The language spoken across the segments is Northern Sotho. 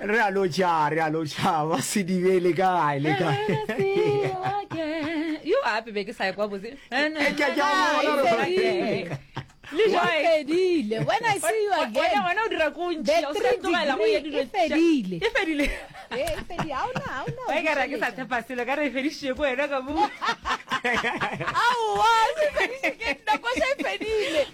Re a lotšha, re a lotšha, ba Sedibe le kae, le kae? Yo ape be ke sa ekwa botse. Eh, ke a- ke a bona gore- Le E Joy. fedile. When I see you again. Wena wena o dira ko The ntši, o se tlogela go ya degree dilo e fedile. E fedile. Eh, e fedile. Ha ona, ha ona. Wa e ka re ke sa tshepa selo ka re e fedišitše ko wena ka mo. Aowa, se fediše ke nna, koša e fedile.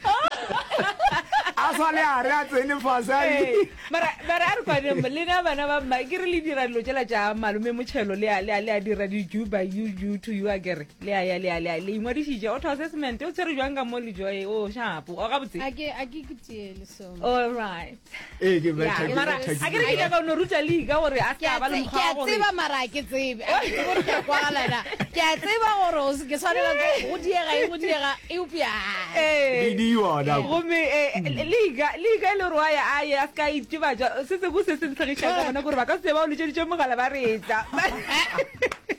A sa le a re a tsene fase a Ee, mara mara a re kwaneng lena bana ba mma ke re le dira dilo tšela tša malome motšhelo le a le a le a dira di-ju by you ju to you a kere le a ya le a le a le ingwadišitše auto assessment o tshwere jwang ka mo le joy o shapo o gabotse A ke a ke ke tiele so. all right Ee, ke Yeah, betha, ke mara betha, a ke re ke nyaka o no ruta league gore a Ke se a ka ba le tse- mokgwa ke wa a gore tseba mara a ke tsebe. A ke tsebe gore ke a kwagala na. Ke a tseba gore o se- ke swanela ke go diega eng go diega eupša. Ee. Di di yona. gomme eh, league league e le gore wa ya a ye a se ka itebatša se sengwe se se ntlhagišang ka gona gore ba ka se ba o letšeditše mogala ba re etla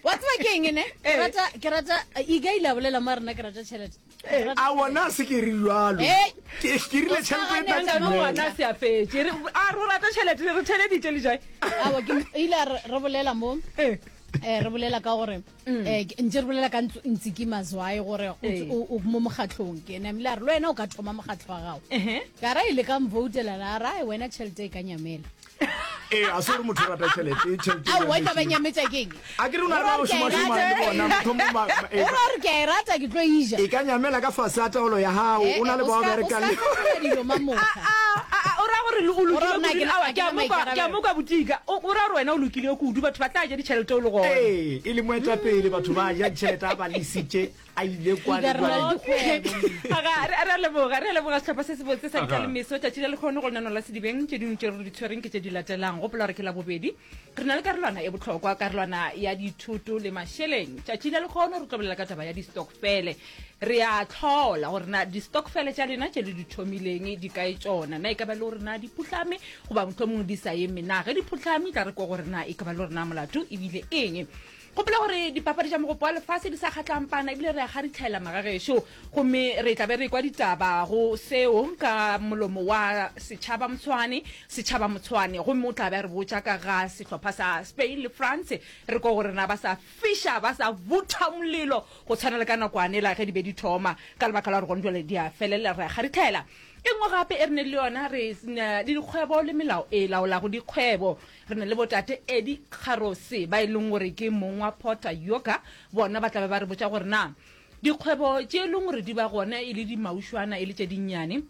Wa tseba ke eng ne? Ke Eh. rata ke rata Iga ile a bolela mo a rena ke rata tšhelete. Ke rata A wona se ke re jalo. Hey. Ke ke rile tšhelete e tla Nna timela. ngwana se a fetše Re- a re o rata tšhelete re theleditše le joy Aowa, ke ile a re re bolela mo Eh. eh re bolela ka gore eh ke- ntse re bolela ka ntso- Ntsiki Mazwai gore o Ee. o o mo mokgatlhong ke ene ebile a re le wena o ka thoma mokgatlho wa gago Ehe. ka ra ile ka mvoutela la ra wena tšhelete e ka nyamela Ee, a se gore motho o rata tšhelete, tšhelete e Aowa, e tla ba nyametše. nyametša ke eng? A ke re o na le ba go šomašomang le bona, mohlomong ba- ba- O ra gore ke a e rata ke tlo e ja. E ka nyamela ka fase ga taolo ya gago, Eh, o na le eh, o bao ska- o berekang ska le. fetola dilo mamoka. A, a, o ra gore o O ra lokile gore na kudu? ke na- Aowa, ga ke ke a na mo kwa- ke a maikarabelo. mo kwa botika. O o ra gore wena o lokile kudu, batho ba tla ja ditšhelete o le gona. Ee, e le moetapele, batho ba ja ditšhelete a ba lesitše a ile kwa le kwa le. Aga, re a leboga, re a leboga sehlopha se sebotse sa Ditlalemeso. Tšatši la lekgono go lenaneo la Sedibeng, tše dingwe tše re di tshwereng ke tše di latelang. Gopola gore ke Labobedi, re na le karolwana e bohlokwa, karolwana ya dithoto le mašeleng. Tšatši la lekgono re tlo bolela ka taba ya di-stokfele. Re a hlola gore na di-stokfele tša lena tše le di thomileng di kae tšona. Na e ka ba le gore na di phuhlame goba mohlomongwe di sa eme na? Ge di phuhlame, tla re kwa gore na e ka ba le gore na molato e bile eng. Gopola gore dipapadi tša Mogopo wa Lefase di sa kgatlampana ebile re a kgaritlhela magagešo gomme re tla be re ekwa ditaba go seo ka molomo wa Setšhaba Motshwane, Setšhaba Motshwane, gomme o tla be a re botša ka ga sehlopha sa Spain le France. Re kwa gore na ba sa fiša, ba sa vutha molelo go tshwana le ka nakwanela ge di be di thoma, ka lebaka la gore gone jwale di a felela, re a kgaritlhela. E nngwe gape e re neng le yona, re na le dikgwebo le melao e laolago dikgwebo. Re na le botate Eddie Kgarose ba e leng gore ke mong wa Porter Yoga, bona ba tla be ba re botša gore na dikgwebo tše e leng gore di ba gona e le dimaušwana e le tše dinnyane,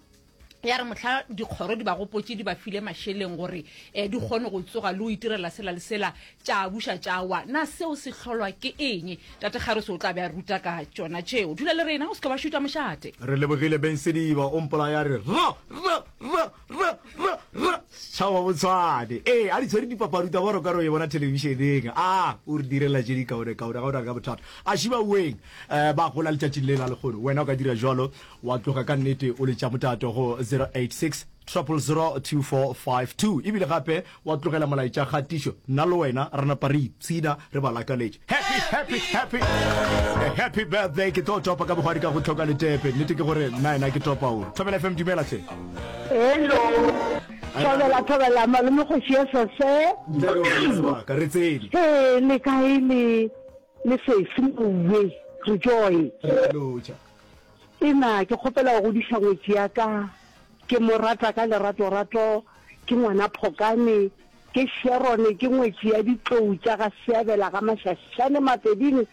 ya re mohla dikgoro di ba gopotše di ba file mašeleng gore um di kgone go tsoga le go itirela sela le sela, tša buša tša wa. Na seo se hlolwa ke eng? Tate Kgarose o tla be a ruta ka tšona tšeo. Dula le rena, o se ke wa šuta mošate. Re lebogile Beng Sediba, o mpolaya re ra ra ra ra ra ra tšhaba botshwane. Ee, a di tshwere dipapadi tsa boro ka re o e bona thelebišeneng. A o re direla tše di kaone kaone, ga o na ka bothata. A šiba weng eh, ba gola letšatšing le la lekgono. Wena o ka dira jwalo wa tloga ka nnete o letša motato go 086 000 2452 ebile gape wa tlogela molaetša kgatišo nna le wena re napa re ipshina re ba lakaletše happy happy happy happy birthday ke tlo topa ka bogwadi ka go tlhoka letepe nnete ke gore nna ena ke topa o thobela fm dumela tlhe hello thobela thobela malome kgoši ya sese sebaka re tsene he le kae le le sesi mowe re joy re lotša ena ke kgopela go godiša ngwetši ya ka Ke mo rata ka leratorato, ke ngwana Phokane, ke Sharon, ke ngwetši ya ditlou tša ga Seabela ga Mašašane Mapeding,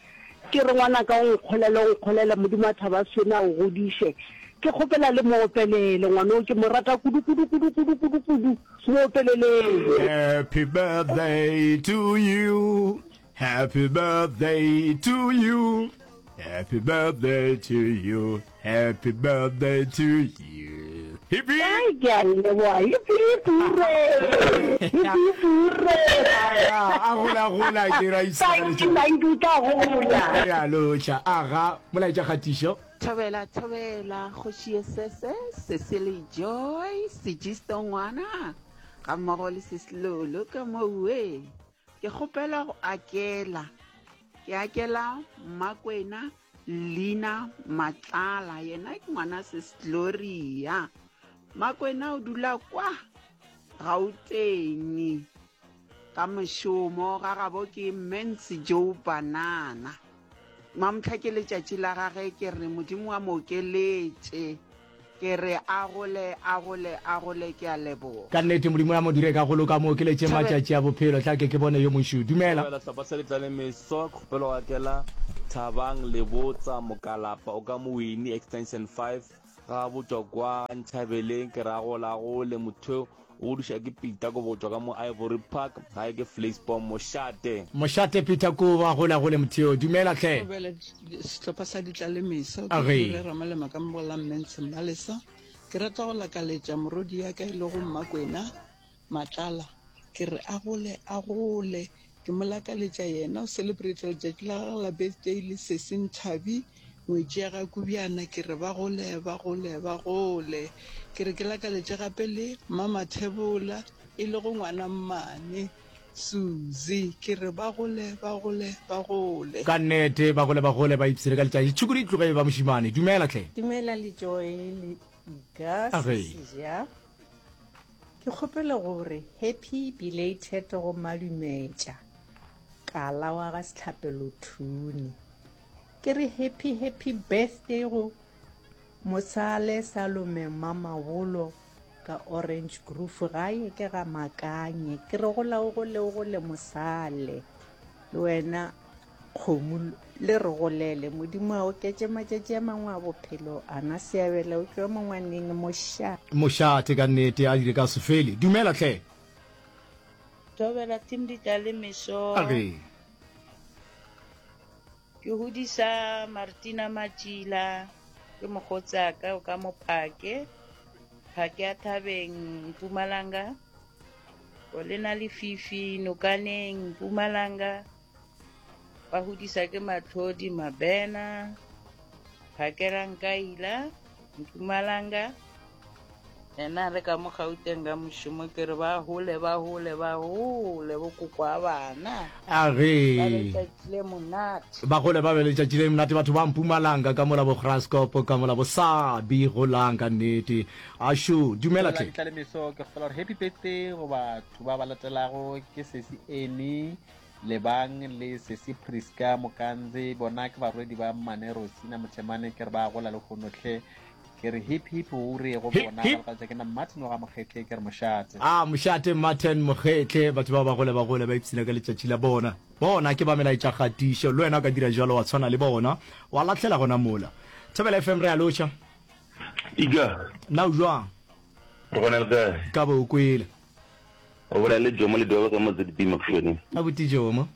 ke re ngwanaka o nkgolele, o nkgolele, Modimo wa thaba swene a o godiše. Ke kgopela le mo opelele, ngwana o ke mo rata kudu, kudu, kudu, kudu, kudu, kudu, mo opeleleng. Happy birthday to you. Happy birthday to you. Happy birthday to you. Happy birthday to you. Hip hip. Ai, ke a leboga. Hip hip hooray. Hip hip hooray. A gola gola ke ra Thank you, thank you, tla gola. Re a lotšha. Aga, molaetša kgatišo. Thobela thobela kgoši ye sese Cecily Joy Sejisto ngwana ga mmogo le Sis Lolo ka mowe. Ke kgopela go akela. Ke akela Mmakwena Lina Matlala, yena ke ngwana Sis Gloria. Mmakwena o dula kwa Gauteng. Ka mošomo ga gabo ke Mens Joe Banana. Mamohla ke letšatši la gage ke re Modimo a mo okeletše. Ke re a gole, a gole, a gole ke a leboga. Ka nnete Modimo a mo dire ka go loka a mo okeletše matšatši a bophelo. Tla ke ke bone yo mošu. Dumela. Thobela sehlopha sa Letlale Meso, kgopelo ga kela Thabang Lebotsa Mokalapa o ka Mowini Extension 5 ga botšwa kwa Ntšhabeleng ke ra gola gole motho o godiša ke Peter Kobo go tšwa ka mo Ivory Park gae ke Vleisboom Mošate. Mošate Peter Kobo a gola gole motheo. Dumela hle. Thobela sehlopha sa Ditlalemeso, ke Age. Rre Ramalema ka mo go la Mmentshe Mmalesa. Ke rata go lakaletša morodi ya ka e lego Mmakwena Matlala, ke re a gole a gole. Ke mo lakaletša yena o celebrate letšatši la gagwe la birthday le sesi Nthabi, ngwetši ya ga Kubjana, ke re ba gole ba gole ba gole. Ke re ke lakaletše gape le Mmamathebola e lego ngwana mmane Suzy, ke re ba gole ba gole ba gole. Ka nnete ba gole ba gole ba ipshine ka letšatši. Tšhukudu e tloge e ba mošemane. Dumela hle. Dumela le Joy le Iga Age. Sesija. Ke kgopela gore happy belated go Madumetša Kala wa ga Sehlapelo Thune. Ke re happy happy birthday go Mosale Salome Mamabolo ka Orange Grove gae ke ga Makanye. Ke re gola o gole o gole Mosale. Le wena Kgomo le re golele. Modimo a oketše matšatši a mangwe a bophelo. Ana Seabela o tšwa mo ngwaneng moša. Mošate ka nnete a dire ka se fele. Dumela hle. Thobela team Ditlalemeso. Age. Ke hodisa Martina Matšila ke mokgotsi ka o ka mo phake. Phake ya Thabeng Mpumalanga. Olena Lefifi Nokaneng Mpumalanga. Ba hodisa ke Matlhodi Mabena, Phakela Nkaila, Mpumalanga. Yena re ka mo Gauteng ka mošomo ke re ba hole ba hole ba hole bo koko a bana. A re. Ba letšatši le monate. Ba gole ba be letšatši le monate batho ba Mpumalanga ka mola bo Graskop ka mola bo Sabi golang ka nnete. Ašo dumela tle. Tlalemeso ke kgopela gore happy birthday go batho ba ba latelago ke sesi Annie Lebang le sesi Prisca Mokanze, bona ke barwedi ba mmane Rosina Mothemane, ke re ba gola lehono hle. Ke re hip hip hoore go bona, Hip, hip. ga ke na Martin wa ga Mokgetle, ke re mošate. A mošate Martin Mokgetle, batho ba ba gole ba gole ba ipshina ka letšatši la bona. Bona ke ba melaetša kgatišo, le wena o ka dira jalo wa tshwana le bona, wa lahlela gona mola. Thobela FM re a lotšha. Ija. Na o jwang? Re gona le kae? Ka bo o kwele. O bolela le Jomo Ledwaba ka mo ZB Makhušwaneng. Abuti Jomo.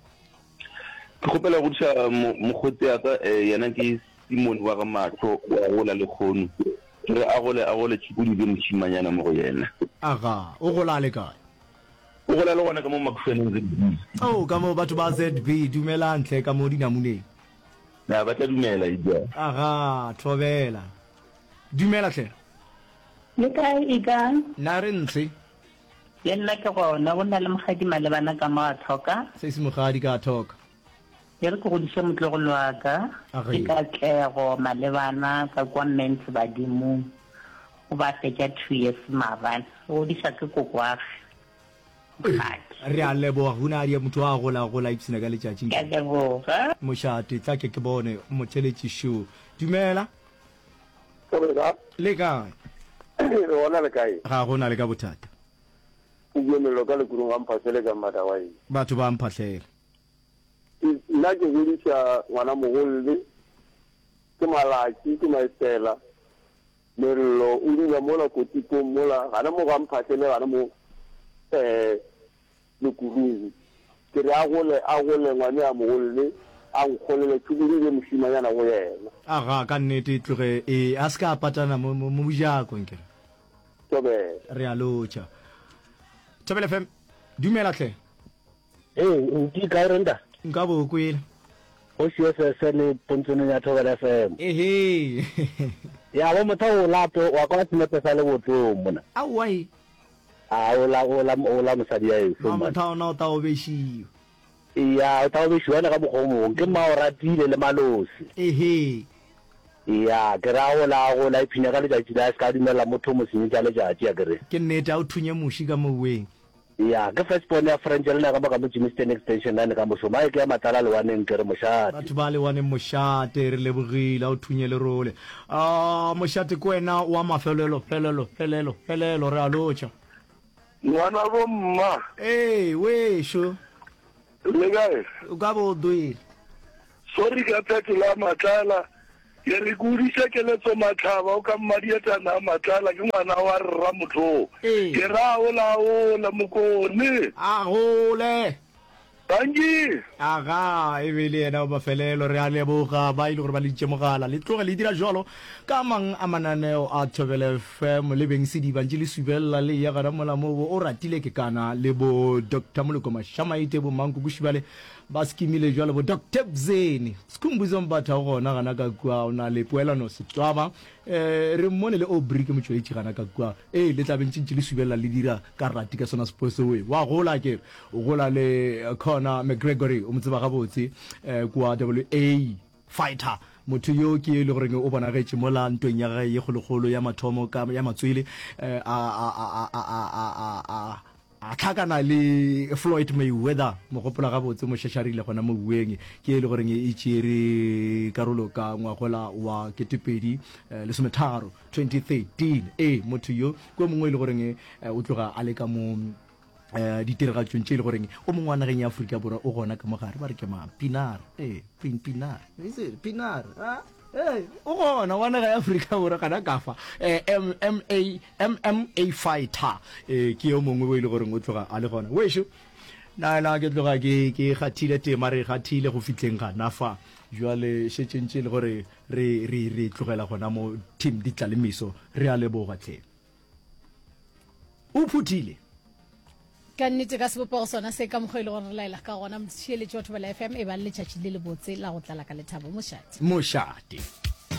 Ke kgopela go godiša mokgotsi ya ka eh, yena ke Simon wa ga Mahlo wa gola le kgono. Ke re a gole a gole tšhukudi be mošimanyana mo go yena. Aga, o gola a le kae? O gola le gona ka mo Makhušwaneng ZB. Oh, ka mo batho ba ZB, dumelang hle ka mo dinamuneng. Na ba tla dumela Ija. Aga, thobela. Dumela hle. Le kae Ika? Na re ntshe. Le nna ke gona, go na le Mokgadi malebana ka mo a thoka. Sesi Mokgadi ka a thoka. E re ke godiše motlogolo wa ka, ke Katlego malebana ka kwa Mens Badimong. O ba fetša two years maabane. O godiša ke kokoage, Mokgadi. Re a leboga Hunadi, motho a gola gola ipshina ka letšatši. Ke a leboga. Mošate, tla ke ke bone motheletši šo. Dumela. Le kae? Re gona le kae? Ga go na le ka bothata. O bue mello ka lekurung ga Mphahlele ka Mmadawai. Batho ba Mphahlele. Nna ke godiša ngwana mogolle, ke Malatši, ke Maesela. Mello o dula mola Kotikong mola, gana mo ga Mphahlele gana mo eh Lekurung. Ke re a gole, a gole ngwane a mogolle, a nkgolele tšhukudu e be mošimanyana go yena. Aga, ka nnete e tloge e, a se ka a patana mo, mo, mo mojako, nkere. Thobela. Re a lotšha. Thobela FM, dumela hle. Ee, nti kae Renda? Nka bo kwele. Kgoši SSN pontsoneng ya Thobela FM. Ehe. Ya bo motho o lape wa kwa senepe sa lebotong mona. Aowa e. A o la o la o la mosadi ya eso man. Motho ona o ta obešiwa. Ya o ta obešiwa ene ka mokgwa o mongwe ke mma o ratile le malosi. Ehe. Ya ke ra o la go la iphinya ka letšatši la se ka dumela motho mo senyetša letšatši a ke re. Ke nnete a o thunye muši ka moweng. Ya, ke first born ya French le na ka mo ka mo Germiston Extension nane ka mošomo. Ae ke ya Matlala Lewaneng ke re mošate. Batho ba Lewaneng mošate, re lebogile, a o thunye lerole. Ah, mošate ke wena wa mafelelo, felelo, felelo, felelo, re a lotšha. Ngwana bo mma. Ee, wešo. Le kae? O ka bo o dwele. Sorry ka phetola ya Matlala. Ke re ke godiša Keletso Matlhaba o ka Mmadietana a Matlala ke ngwana wa rra motho. Ke ra ola ola Mokone. A gole. Dankie. Aga, e be e le yena wa mafelelo. Re a leboga ba e le gore ba leditše mogala. Le tloge le dira jwalo ka mang a mananeo a Thobela FM le beng sediba ntše le subelela le eya gona mola mo bo o ratile ke kana le bo Doctor Moloko Mashamaite bo Mankoko Shibale ba skimile jwalo bo Doctor Bzeni Skhumbuzo Mbatha o gona gana ka kua o na le Poelano Setwaba eh re mmone le Aubrey ke motšweletši gana ka kua ee le tla be ntše ntše le subelela le dira ka rati ka sona sepo seo wa gola ke o gola le Conor McGregory o mo tseba gabotse eh kua WA Fighter. Motho yo ke yo e le goreng o bonagetše mola ntweng ya gagwe ye kgolokgolo ya mathomo ka ya matswele a a a a a a a a a hlakana le Floyd Mayweather, mo gopola gabotse, mo šašarile gona mo uweng, ke e le goreng e tšeere karolo ka ngwagola wa ketepedi lesometharo, 2013. Ee, motho yo ke o mongwe e le goreng o tloga a le ka mo um ditiragatšong tše e le goreng o mongwe wa nageng ya Afrika Borwa o gona ka mo gare, ba re ke mang? Pinar, ee, Pin, Pinar, is it Pinar? Ah, ee, o gona wa naga ya Afrika Borwa gana ka fa, eh, M, M A, MMA fighter, ee, ke yo mongwe o e le goreng o tloga a le gona. Wešo, na na ke tloga ke ke kgathile tema, re kgathile go fihleng gana fa. Jwale šetše ntše e le gore re re re tlogela gona mo team Ditlalemiso. Re a leboga tlhe. O phuthile. Ka nnete ka sebopego sona se ka mokgwa e le gore re laela ka gona motheeletši wa Thobela FM e ba le letšatši le lebotse la go tlala ka lethabo. Mošate. Mošate.